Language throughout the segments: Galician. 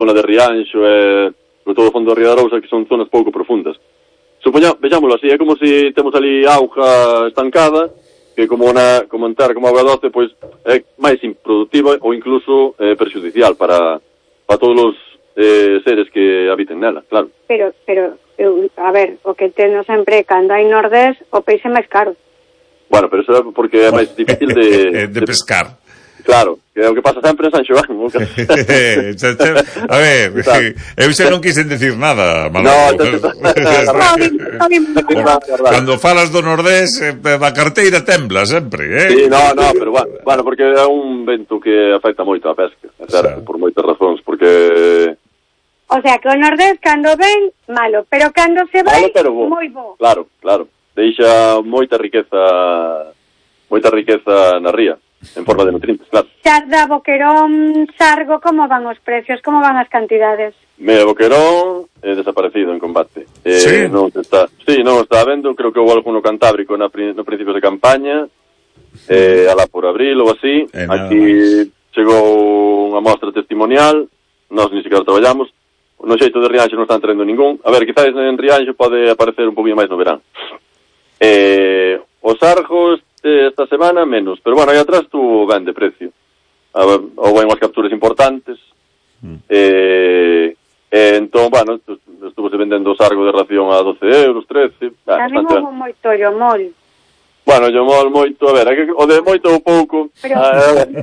zona de Rianxo e sobre todo o fondo da Ría da Arousa, que son zonas pouco profundas. Vexámoslo así, é como se temos ali auga estancada, que como entrar como auga doce, pois é máis improductiva ou incluso perxudicial para todos os seres que habiten nela, claro. Pero a ver, o que entendo sempre, cando hai nordés, o peixe é máis caro. Bueno, pero eso é porque é máis difícil de pescar. Claro, que é o que pasa sempre en San Xoán. A ver, eu xa non quixen decir nada, Manolo. Cando falas do Nordés, a carteira tembla sempre, Sí, no, pero bueno, porque é un vento que afecta moito a pesca, é certo, por moitas razóns, porque... O sea, que o Nordés, cando ven, malo, pero cando se vai, moi bo. Claro, deixa moita riqueza na ría, en forma de nutrientes, claro. Xarda, boquerón, sargo, como van os precios, como van as cantidades? Mira, boquerón é desaparecido en combate. Sí? Non está vendo, creo que houve alguno cantábrico no principios de campaña, alá por abril ou así. Aquí chegou unha mostra testimonial, nós ni siquiera traballamos, no xeito de Rianxo non están traendo ningún. A ver, quizás en Rianxo pode aparecer un poquinho máis no verán. Os sargos esta semana menos, pero bueno, aí atrás tu ven de precio. Houve unhas capturas importantes. Entón, bueno, estuvose vendendo o sargo de ración a 12 euros, 13. Tamén houve moito llomol. Bueno, llomol moito, a ver, o de moito ou pouco. Pero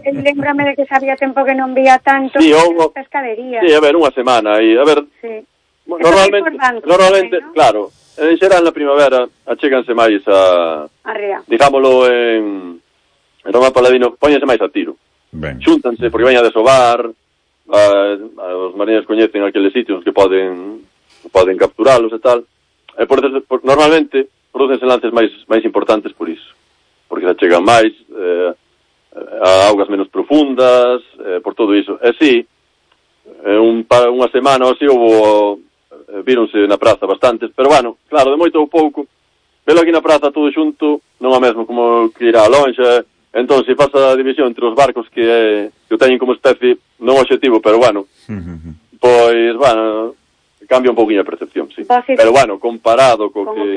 lembrame de que sabía tempo que non vía tanto pescadería. Sí, a ver, unha semana aí, a ver. Sí. Normalmente, ¿no? Claro, en xeral na primavera achéganse máis a ría. Digámoslo en Roma Paladino, póñense máis a tiro. Xúntanse porque veña a desovar, os mariñeiros coñecen aqueles sitios que poden capturalos e tal. Normalmente producen lances máis importantes por iso, porque se achegan máis a augas menos profundas, por todo iso. E si, unha semana ou así víronse na praza bastantes, pero bueno, claro, de moito ou pouco, velo aquí na praza todo xunto, non é mesmo como que irá a lonxa. Entón, se faz a división entre os barcos que o teñen como especie, non objetivo, pero bueno, pois, bueno, cambia un pouquinho a percepción, sí. Pero bueno, comparado co que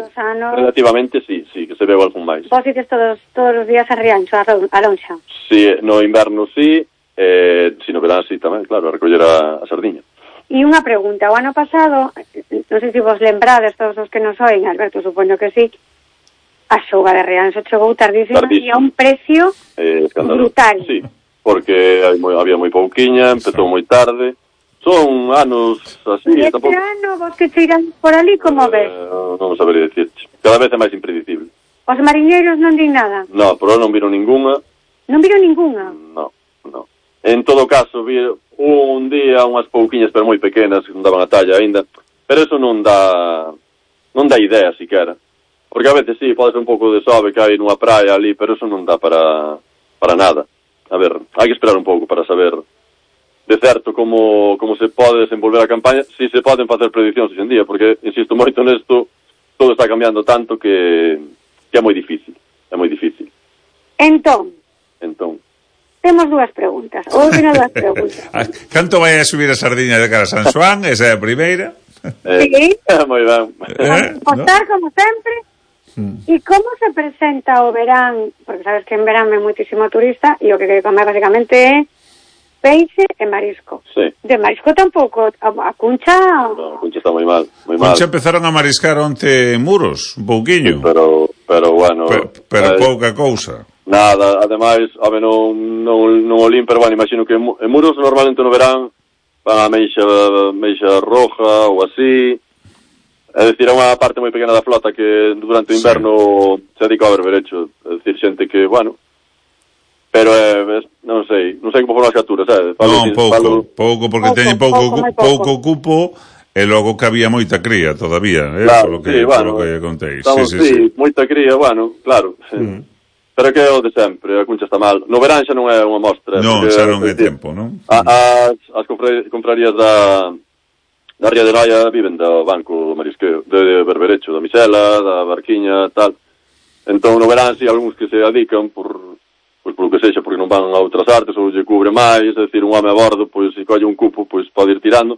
relativamente, sí, que se veu algún máis. Vos ides todos os días a Rianxo, a lonxa? Sí, no inverno sí, si no verán sí tamén, claro, a recoller a sardiña. E unha pregunta, o ano pasado, non sei se vos lembrades todos os que nos oen, Alberto, supoño que sí, a xuga de Rianxo chegou tardísima e a un precio brutal. Sí, porque había moi pouquiña, empezou moi tarde, son anos así. E este ano, vos que cheiran por ali, como ves? Non sabería dicirche, cada vez é máis impredecible. Os mariñeiros non din nada? No, por non viron ningunha. Non viron ningunha? No. En todo caso, vi un día unhas pouquiñas, pero moi pequenas, que non daban a talla aínda, pero eso non dá idea, siquera. Porque a veces sí, pode ser un pouco de sobe que hai nunha praia ali, pero eso non dá para nada. A ver, hai que esperar un pouco para saber de certo como se pode desenvolver a campaña, si se poden facer prediccións hoxe en día, porque, insisto moito nesto, todo está cambiando tanto que é moi difícil. Entón. Temos dúas preguntas. Canto vai a subir a sardiña de cara a San Xoán? Esa é a primeira. Sí. Moi ben. Postar, como sempre. E como se presenta o verán? Porque sabes que en verán é moitísimo turista e o que comer basicamente é peixe e marisco. Sí. De marisco tampouco. A Cuncha... No, a Cuncha está moi mal. Cuncha empezaron a mariscar onte en Muros, un pouquiño. Sí, pero bueno... Pero pouca cousa. Nada, ademais, non o lim, pero bueno, imagino que en Muros normalmente no verán van a meixa roja ou así. É dicir, é unha parte moi pequena da flota que durante o inverno se dedica ao berberecho. É dicir, xente que, bueno, pero non sei como foron as capturas, Non, pouco, porque teñen pouco cupo e logo que había moita cría todavía, claro, polo que contéis. Sí, moita cría, bueno, claro. Pero que é o de sempre, a Cuncha está mal. No verán xa non é unha mostra. Non, xa non é tempo, non? As confrarías da Ría de Noia viven do banco do marisqueo, de berberecho, da misela, da barquiña, tal. Entón no verán si algúns que se dedican por lo que sexa, porque non van a outras artes ou lle cubre máis, é dicir, un home a bordo, pois se colle un cupo, pois pode ir tirando.